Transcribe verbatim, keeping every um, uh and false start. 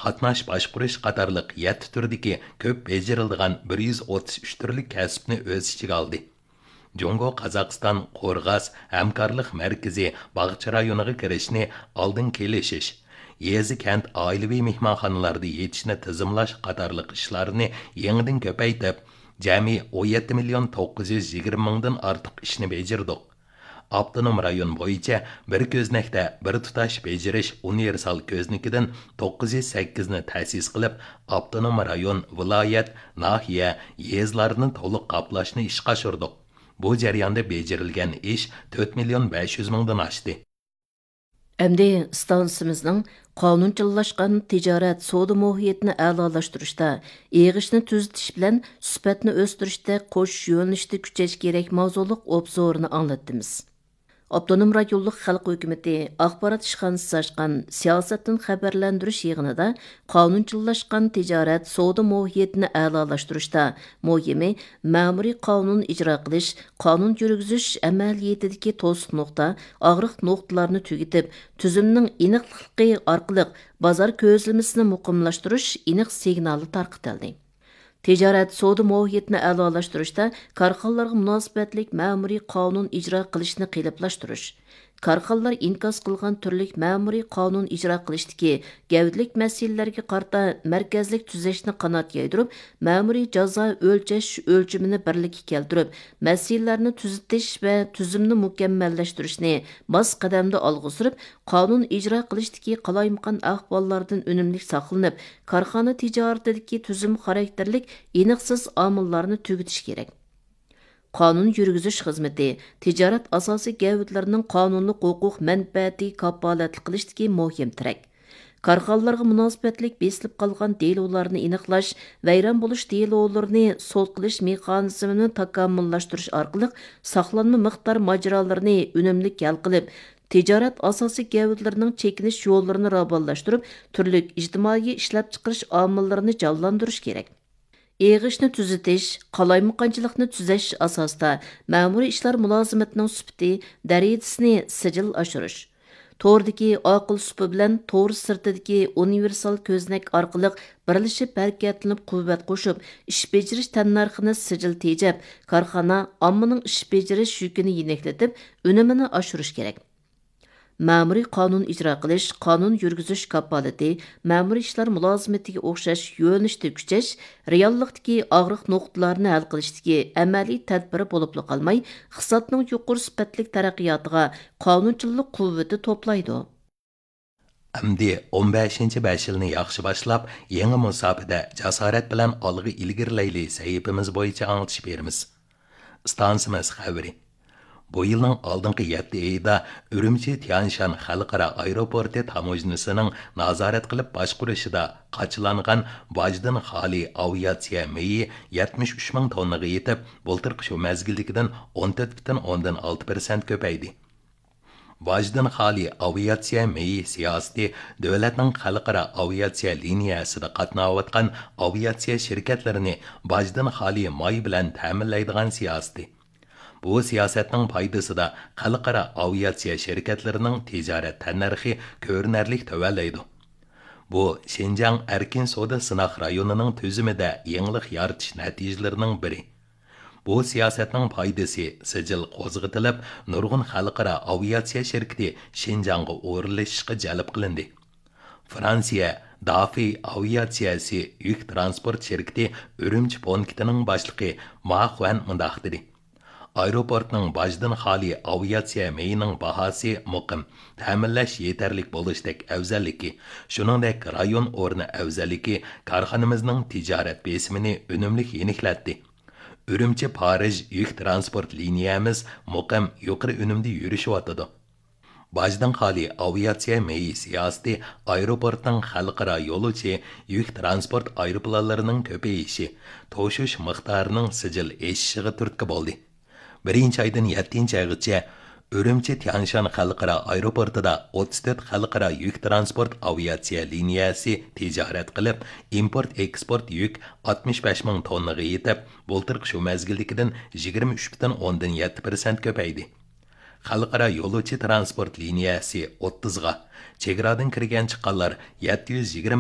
قاتناش باشقۇرۇش قاتارلىق يەتتە تۈردىكى كۆپ بېجىرىلىدىغان بىر يۈز ئوتتۇز ئۈچ تۈرلۈك كەسىپنى ئۆز ئىچىگە ئالدى. جۇڭگو قازاقىستان قورغاس ھەمكارلىق مەركىزى باغچە رايونىغا كىرىشنى ئالدىن كېلىشىش، يېزا، كەنت، ئائىلىۋى مېھمانخانىلاردا يېتىشنى تىزىملاش قاتارلىق ئىشلارنى يېڭىدىن كۆپەيتىپ، جەمئىي ئون يەتتە مىليون توققۇز يۈز يىگىرمە مىڭدىن ئارتۇق ئىشنى بېجىردۇق. ئاپتونوم رايون بويىچە بىر كۆزنەكتە بىر تۇتاش بېجىرىش ئۇنىۋېرسال كۆزنىكىدىن توققۇز يۈز سەككىزنى تەسىس قىلىپ، ئاپتونوم رايون، ۋىلايەت، ناھىيە، يېزىلارنى تولۇق قاپلاشنى ئىشقا ئاشۇردۇق. بۇ جەرياندا بېجىرىلگەن ئىش تۆت مىليون بەش يۈز مىڭدىن ئاشتى. ئەمدى ئىستانسىمىزنىڭ قانۇنچىللاشقان تىجارەت سودا مۇھىتىنى ئەلالاشتۇرۇشتا، ئېغىشنى تۈزىتىش بىلەن سۈپەتنى ئۆستۈرۈشتە قوشۇش يۆنىلىشىدە كۈچەش كېرەك ماۋزۇلۇق ئوبزورىنى ئاڭلاتتىمىز. ئاپتونوم رايونلۇق خەلق ھۆكۈمىتى ئاخبارات ئىشخانىسى ئاچقان سىياسەتتىن خەۋەرلەندۈرۈش يىغىنىدا قانۇنچىللاشقان تىجارەت سودا مۇھىتىنى ئەلالاشتۇرۇشتا مۇھىمى مەمۇرىي قانۇن ئىجرا قىلىش، قانۇن يۈرگۈزۈش ئەمەلىيىتىدىكى توسۇق نۇقتا، ئاغرىق نۇقتىلارنى تۈگىتىپ، تۈزۈمنىڭ ئېنىقلىقى ئارقىلىق بازار كۆزلىمىسىنى مۇقىملاشتۇرۇش ئېنىق سىگنالى تارقىتىلدى. تىجارەت سودا مۇھىتىنى ئەلالاشتۇرۇشتا كارخانىلارغا مۇناسىۋەتلىك مەمۇرىي قانۇن ئىجرا قىلىشنى قېلىپلاشتۇرۇش، كارخانىلار ئىنكاس قىلغان تۈرلۈك مەمۇرىي قانۇن ئىجرا قىلىشتىكى گەۋدىلىك مەسىلىلەرگە قارىتا مەركەزلىك تۈزەشنى قانات يايدۇرۇپ، مەمۇرىي جازا ئۆلچەش ئۆلچىمىنى بىرلىككە كەلتۈرۈپ، مەسىلىلەرنى تۈزىتىش ۋە تۈزۈمنى مۇكەممەللەشتۈرۈشنى ماس قەدەمدە ئالغا سۈرۈپ، قانۇن ئىجرا قىلىشتىكى قالايمىقان ئەھۋاللاردىن ئۈنۈملۈك ساقلىنىپ، كارخانا تىجارىتىدىكى تۈزۈم خاراكتېرلىك ئېنىقسىز ئامىللارنى تۈگىتىش كېرەك. قانۇن يۈرگۈزۈش خىزمىتى تىجارەت ئاساسىي گەۋدىلىرىنىڭ قانۇنلۇق ھوقۇق مەنپەئەتىگە كاپالەتلىك قىلىشتىكى مۇھىم تىرەك. كارخانىلارغا مۇناسىۋەتلىك بېسىلىپ قالغان دېلولارنى ئېنىقلاش، ۋەيران بولۇش دېلولىرىنى سوت قىلىش مېخانىزمىنى تاكامۇللاشتۇرۇش ئارقىلىق ساقلانما مىقدار ماجىرالىرىنى ئۈنۈملۈك ھەل قىلىپ، تىجارەت ئاساسىي گەۋدىلىرىنىڭ چېكىنىش يوللىرىنى راۋانلاشتۇرۇپ، تۈرلۈك ئىجتىمائىي ئىشلەپچىقىرىش ئامىللىرىنى جانلاندۇرۇش كېرەك. ئېغىشنى تۈزىتىش، قالايمىقانچىلىقنى تۈزەش ئاساسىدا مەمۇرىي ئىشلار مۇلازىمىتىنىڭ سۈپىتى، دەرىجىسىنى سىجىل ئاشۇرۇش. توردىكى ئاقىل سۇپى بىلەن تور سىرتىدىكى ئۇنىۋېرسال كۆزنەك ئارقىلىق بىرلىشىپ ھەرىكەتلىنىپ قۇۋۋەت قوشۇپ، ئىش بېجىرىش تەننەرخىنى سىجىل تېجەپ، كارخانا ئاممىنىڭ ئىش بېجىرىش يۈكىنى يېنىكلىتىپ، ئۈنۈمىنى ئاشۇرۇش كېرەك. مەمۇرىي قانۇن ئىجرا قىلىش، قانۇن يۈرگۈزۈش كاپالىتى، مەمۇرىي ئىشلار مۇلازىمىتىگە ئوخشاش يۆنىلىشتە كۈچەش، رېئاللىقتىكى ئاغرىق نۇقتىلارنى ھەل قىلىشتىكى ئەمەلىي تەدبىرى بولۇپلا قالماي، ئىقتىسادنىڭ يۇقىرى سۈپەتلىك تەرەققىياتىغا قانۇنچىلىق قۇۋۋىتى توپلايدۇ. ئەمدى ئون بەشىنچى بەش يىلنى ياخشى باشلاپ، يېڭى مۇساپىدە جاسارەت بىلەن ئالغا ئىلگىرىلەيلى سەھىپىمىز بويىچە ئاڭلىتىش بېرىمىز. ئىستانسىمىز خەۋىرى. بۇ يىلنىڭ ئالدىنقى يەتتە ئېيىدا ئۈرۈمچى تيانشان خەلقئارا ئايروپورتى تاموژنىسىنىڭ نازارەت قىلىپ باشقۇرۇشىدا قاچىلانغان باجدىن خالىي ئاۋىئاتسىيە مېيى يەتمىش ئۈچ مىڭ توننىغا يېتىپ، بۇلتۇرقى شۇ مەزگىلدىكىدىن ئون تۆت پۈتۈن ئوندىن ئالتە پىرسەنت كۆپەيدى. باجدىن خالىي ئاۋىئاتسىيە مېيى سىياسىتى دۆلەتنىڭ خەلقئارا ئاۋىئاتسىيە لىنىيەسىدە قاتناۋاتقان ئاۋىئاتسىيە شىركەتلىرىنى باجدىن خالىي ماي بىلەن تەمىنلەيدىغان سىياسىتى. بۇ سىياسەتنىڭ پايدىسىدا خەلقئارا ئاۋىئاتسىيە شىركەتلىرىنىڭ تىجارەت تەننەرخى كۆرۈنەرلىك تۆۋەنلەيدۇ. بۇ شىنجاڭ ئەركىن سودا سىناق رايونىنىڭ تۈزۈمىدە يېڭىلىق يارىتىش نەتىجىلىرىنىڭ بىرى. بۇ سىياسەتنىڭ پايدىسى سىجىل قوزغىتىلىپ، نۇرغۇن خەلقئارا ئاۋىئاتسىيە شىركىتى شىنجاڭغا ئورۇنلىشىشقا جەلپ قىلىندى. فرانسىيە دافى ئاۋىئاتسىيەسى يۈك تىرانسپورت شىركىتى ئۈرۈمچى پونكىتىنىڭ باشلىقى ما خۇەن مۇنداق دېدى: ئايروپورتنىڭ باجدىن خالىي ئاۋىئاتسىيە مېيىنىڭ باھاسى مۇقىم، تەمىنلەش يېتەرلىك بولۇشتەك ئەۋزەللىكى، شۇنىڭدەك رايون ئورنى ئەۋزەللىكى كارخانىمىزنىڭ تىجارەت بېسىمىنى ئۈنۈملۈك يېنىكلەتتى. ئۈرۈمچى پارىژ يۈك تىرانسپورت لىنىيەمىز مۇقىم، يۇقىرى ئۈنۈمدە يۈرۈشۈۋاتىدۇ. باجدىن خالىي ئاۋىئاتسىيە مېيى سىياسىتى ئايروپورتنىڭ خەلقئارا يولۇچى يۈك تىرانسپورت ئايروپىلانلىرىنىڭ كۆپىيىشى، توشۇش مىقدارىنىڭ سىجىل ئېشىشىغا تۈرتكە بولدى. بىرىنچى ئايدىن يەتتىنچى ئايغىچە ئۈرۈمچى تيانشان خەلقئارا ئايروپورتىدا ئوتتۇز تۆت خەلقئارا يۈك تىرانسپورت ئاۋىئاتسىيە لىنىيەسى تىجارەت قىلىپ، ئىمپورت ئېكسپورت يۈك ئاتمىش بەش مىڭ توننىغا يېتىپ، بۇلتۇرقى شۇ مەزگىلدىكىدىن يىگىرمە ئۈچ پۈتۈن ئوندىن يەتتە پىرسەنت كۆپەيدى. خەلقئارا يولۇچى تىرانسپورت لىنىيەسى ئوتتۇزغا، چېگرادىن كىرگەن چىققانلار يەتتە يۈز يىگىرمە